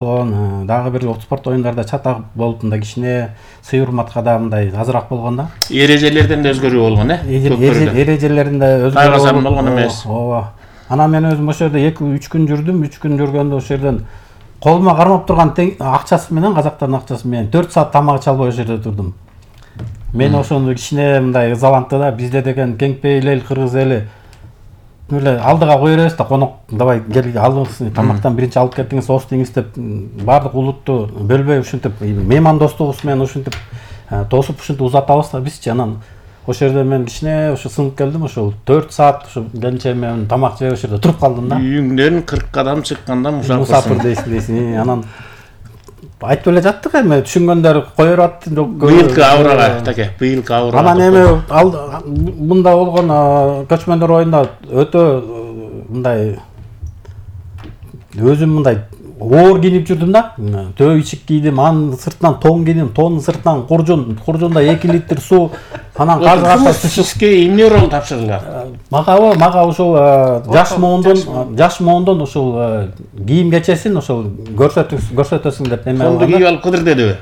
Дагы бир спорт оюндарда чатак болуп мындай кичине сый урматка да мындай азыраак болгон да. Эрежелерден да өзгөрүү болгон, Эрежелеринде өзгөрүү болгон эмес. Ооба. Анан мен өзүм ошол жерде 2-3 күн жүрдүм. 3 күн жүргөндө ошол жерден колума кармап турган акчасы менен, казактардын акчасы менен 4 саат тамак иче албай ошол жерде турдум. Мен ошону кичине мындай ызалантты да. Бизде деген кеңпейил эл, кыргыз эли эле алдыга кое беребиз да, конок давай кел алыңыз, тамактан биринчи алып кетиңиз, ос деңиз деп баардык улутту бөлбөй ушинтип мейман достугубуз менен ушинтип тосуп ушинтип узатабыз да бизчи. Анан ошол жерде мен кичине ошо сынып келдим. Ошол 4 саат ошо келинчегим менен тамак жеп ошол жерде туруп калдым да. Үйүңдөн 40 кадам чыкканда мусафир дейсиң. Анан айтып эле жаттык, эми түшүнгөндөр кое берип атты. Быйылкы авырага, таке, быйылкы авырага. Анан эми мында болгон көчмөндөр оюнда өтө мындай өзүм мындай оор кийинип жүрдүм да. Төө ичик кийдим, анын сыртынан тон кийдим, тонун сыртынан куржунда 2 литр суу, анан казгата түшүшкө эмне рол тапшырылган? Мага ошол жаш моондон ошол кийим кечесин ошол көрсөтөсүң деп эме алган. Тонду кийип алып кыдыр дедиби?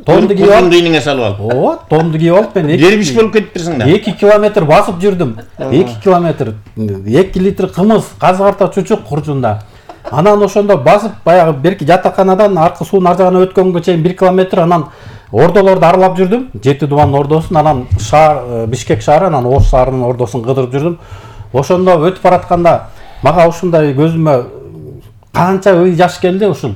Тонду кийип алып ийниңе салып алып. Ооба, тонду кийип алып мен дербиш болуп кетиптирсиң да. 2 километр басып жүрдүм. 2 километр, 2 литр кымыз, казгарта чучук куржунда. Анан ошондо басып баягы берки жатаканадан аркы суунун ар жагына өткөнгө чейин 1 километр, анан ордолорду аралап жүрдүм. 7 дубанын ордосун, анан шаар Бишкек шаары, анан Ош шаарынын ордосун кыдырып жүрдүм. Ошондо өтүп баратканда мага ушундай көзүмө канча жаш келди. Ушул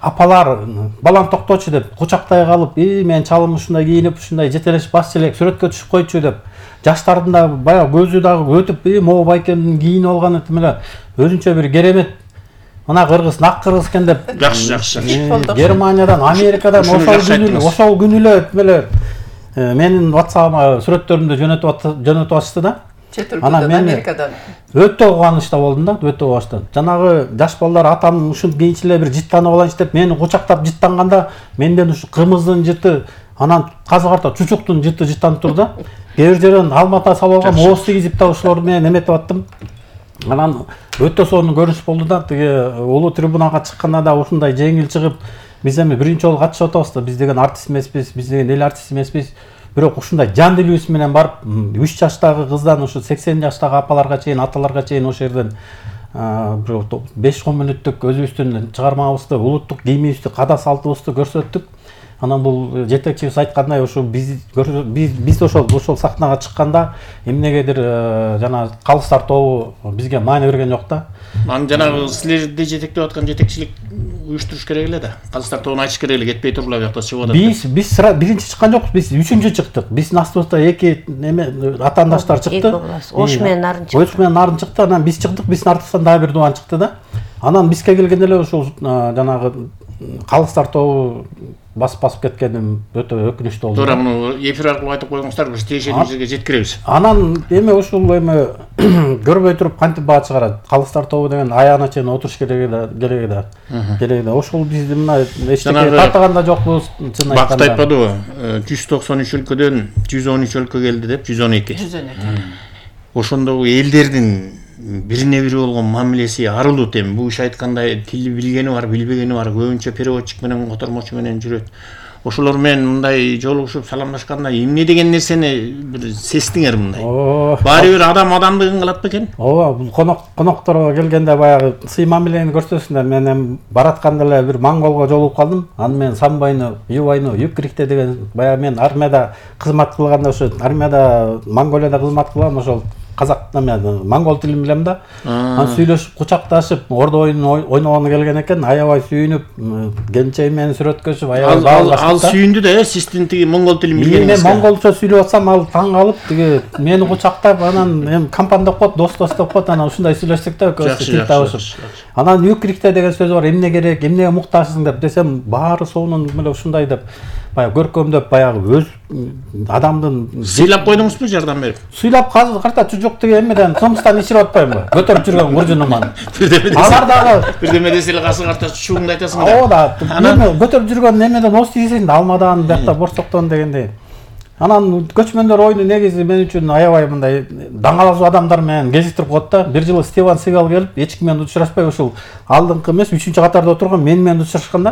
апалар балам токточу деп кучактай калып, мен чалым ушундай кийинип, ушундай жетелешип басчу элек, сүрөткө түшүп койчу деп. Жаштардын да баягы көзү дагы өтүп, могу байкемдин кийинип алганы эле өзүнчө бир керемет. Мына кыргыз, нак кыргыз экен деп. Жакшы. Германиядан, Америкадан ошол күнү эле менин WhatsApp-ыма сүрөттөрүмдү жөнөтүп атышты да. Анан мен Америкадан өтө кубанычта болдум да, өтө кубанычта. Жанагы жаш балдар атам ушул кийинчи эле бир жыттанып алайынчы деп мени кучактап жыттанганда менден ушу кымыздын жыты, анан казгарта чучуктун жыты жыттанып турду да. Кээ бир жерден алмата салып алгам, ооз тийгизип да ошолор менен эметип аттым. Анан өтө сонун көрүнүш болду да. Тиги улуу трибунага чыкканда да ушундай жеңил чыгып, биз эми биринчи жолу катышып атабыз да. Биз деген артист эмеспиз, биз деген эл артист эмеспиз. Бирок ушундай жан дилибиз менен барып 3 жаштагы кыздан ушу 80 жаштагы апаларга чейин, аталарга чейин ошол жерден 5-10 мүнөттүк өзүбүздүн чыгармабызды, улуттук кийимибизди, када салтыбызды көрсөттүк. Анан бул жетекчибиз айткандай, ошо биз ошол сахнага чыкканда эмнегедир жана калыстар тобу бизге маани берген жок да. Анан жанагы силерди жетектеп аткан жетекчилик уюштуруш керек эле да. Калыстар тобуна айтыш керек эле, кетпей турула буякта чыгып атат. Биз биринчи чыккан жокпуз, биз 3-чү чыктык. Биздин астыбызда 2 атаандаштар чыкты. Ош менен Нарын чыкты. Анан биз чыктык, биздин артыбыздан дагы бир дубан чыкты да. Анан бизге келгенде эле ошол жанагы калыстар тобу басып кеткеним өтө өкүнүчтүү болду. Туура муну эфир аркылуу айтып койгоңуздар, биз тиешелүү жерге жеткиребиз. Анан ушул көрбөй туруп кантип баа чыгарат? Калыстар тобу деген аягына чейин отуруш керек да. Ошол бизди мына эчтеке татаганда жокпуз, чын айтканда. Бакыт айтпадыбы? 193 өлкөдөн 113 өлкө келди деп, 112. Ошондогу элдердин бирине бири болгон мамилеси арылуу тем. Бул иш айткандай тил билгени бар, билбегени бар, көбүнчө переводчик менен, котормочу менен жүрөт. Ошолор менен мындай жолугушуп саламдашканда эмне деген нерсени бир сездиңер мындай? Баары бир адамдыгын кылат бекен? Ооба, бул конокторго келгенде баягы сый мамилени көрсөтсүңөр. Мен баратканда эле бир монголго жолугуп калдым. Аны мен самбайны, юбайны, юкрикте деген баягы мен армияда кызмат кылганда, ошо армияда Монголияда кызмат кылгам, ошол казак монгол тилин билем да. Анан сүйлөшүп, кучакташып, ордо оюнун ойногону келген экен. Аябай сүйүнүп, келинчегим менен сүрөткөчүп, аябай баалашып. Ал сүйүндү да, сиздин тиги монгол тилин билгениңизге. Мен монголча сүйлөп атсам, ал таң калып, тиги мени кучактап, анан эми компан деп коет, дос деп коет, анан ушундай сүйлөштүк да, тил табышып. Анан юкрикте деген сөз бар, эмне керек, эмнеге муктажсың деп десем, баары сонун эле ушундай деп, баягы көркөмдөп, баягы өз адамдын сыйлап койдуңузбу жардам берип? Сыйлап карта чучук деген эмеден кымыстан ичирип атпайбы? Көтөрүп жүргөн куржунуман. Алар дагы бирдеме десе эле касы карта чучугуңду айтасың да. Ооба, эми көтөрүп жүргөн эмеден ос тийсең да, алмадан, биякта борсоктон дегендей. Анан көчмөндөр оюну негизи мен үчүн аябай мындай даңалазуу адамдар менен кезиктирип коет да. Бир жылы Стивен Сигал келип, эч ким менен учурашпай ушул алдыңкы эмес, 3-катарда отурган мен менен учурашканда